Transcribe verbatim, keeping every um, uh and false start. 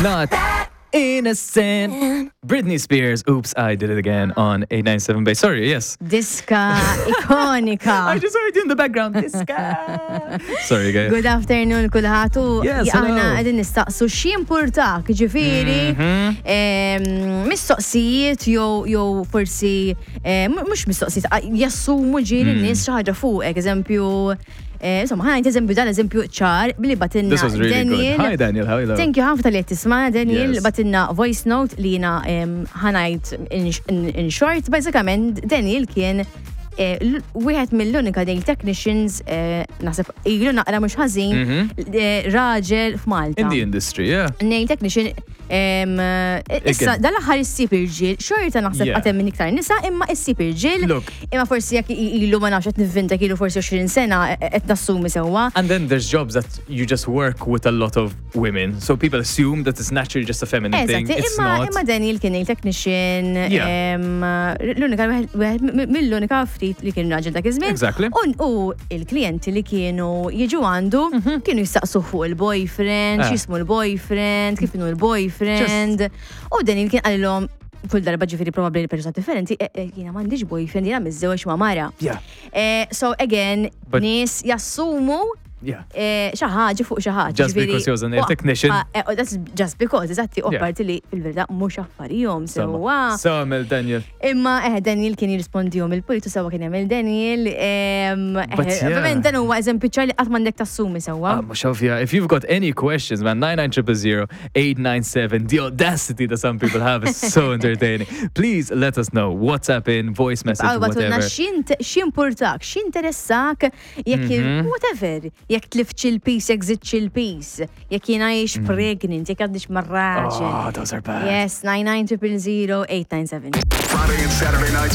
Not innocent. Britney Spears, Oops, I Did It Again on eight nine seven Bass. Sorry, yes. Diska ikonika. I just heard you in the background. Diska. Sorry, guys. Good afternoon kulħadd u Yes, aħna hello. qegħdin nistaqsu x'jimpurtak, ġifieri Mhm. em, mistoqsijiet jew jew forsi eh, mu- mhux mistoqsijiet, a- jassumu ġieli Mm. n-nies xi ħaġa fuqek, eżempju, eh, insomma, ħa ngħid eżempju, dan eżempju ċar billi bagħtilna This was really Daniel. good. Hi, Daniel. How are you? Thank you ħafna talli qed tisma', Daniel. Yes. Bagħtilna voice note li jiena em, ħa ngħid in, in, in short, bażikament Daniel kien eh, l- wieħed mill-unika nail technicians, eh, naħseb ilu naqra mhux ħażin, eh, raġel f'Malta. In the industry, yeah. Nail technician em, eh, issa Again. dal-aħħar issib irġiel, xorta naħseb Yeah. għad hemm minn iktar nisa, imma issib irġiel. Look. Imma forsi jekk ilu, ma nafx, qed nivvinta, ilu forsi għoxrin sena, eh, qed nassumi sewwa. And then there's jobs that you just work with a lot of women. So people assume that it's naturally just a feminine thing. Eżatt, It's imma not. Imma Daniel kien il-technician, Yeah. em, l-unika wieħed mill-unika ftit li kien raġel dak iż-żmien. Exactly. U u il-klijenti li kienu jiġu għandu kienu jistaqsu fuq il-boyfriend, Ah. x'jismu l-boyfriend, kif inhu l-boyfriend. U Daniel kien qalilhom kull darba, ġifieri probabbli persuna differenti, "Eh, eh, jiena m'għandix boyfriend, jiena miżżewweġ ma' mara." Yeah. Eh, so again, But- nies jassumu Yeah. eh, xi ħaġa fuq xi ħaġa. Just Ġifieri- because he was a nail u- technician. ah, eh, oh, that's just because, eżatti, u Yeah. parti li fil-verità mhux affarijhom sewwa. So, Mel Daniel. Imma eh, Daniel kien jirrispondihom il-politu sewwa kien jagħmel Daniel. em, eh, But yeah. Ovvjament dan huwa eżempju ċar li qatt m'għandek tassumi sewwa. Ah, Mashovia, if you've got any questions, man, nine nine zero zero eight nine seven. The audacity that some people have is so entertaining. Please let us know. WhatsApp in, voice message, Għaw bagħtulna whatever. x'jimpurtak, x'interessak, jekk Mhm. whatever, jekk tliftx il-piż, jekk żidtx il-piż, jekk jiena jiex pregnant, jekk għadnix mar-raġel. Mm. Oh, those are bad. Yes, nine nine zero zero eight nine seven. Friday and Saturday nights.